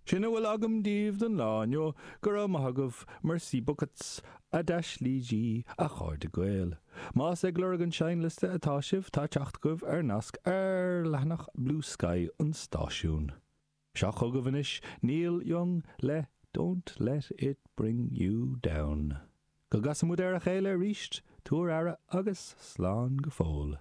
Sin a bhfuil agam daoibh don lá inniu, go raibh maith agaibh, merci beaucoup, a d'aislígí, a chairde Gael. Más ag lorg an seinnliosta atá sibh, tá teacht agaibh ar nasc ar leathanach Bluesky an stáisiúin. Seo chugaibh anois Neil Young le Don't Let It Bring You Down. Go gcasa muid ar a chéile arís, tabhair aire agus slán go fóill.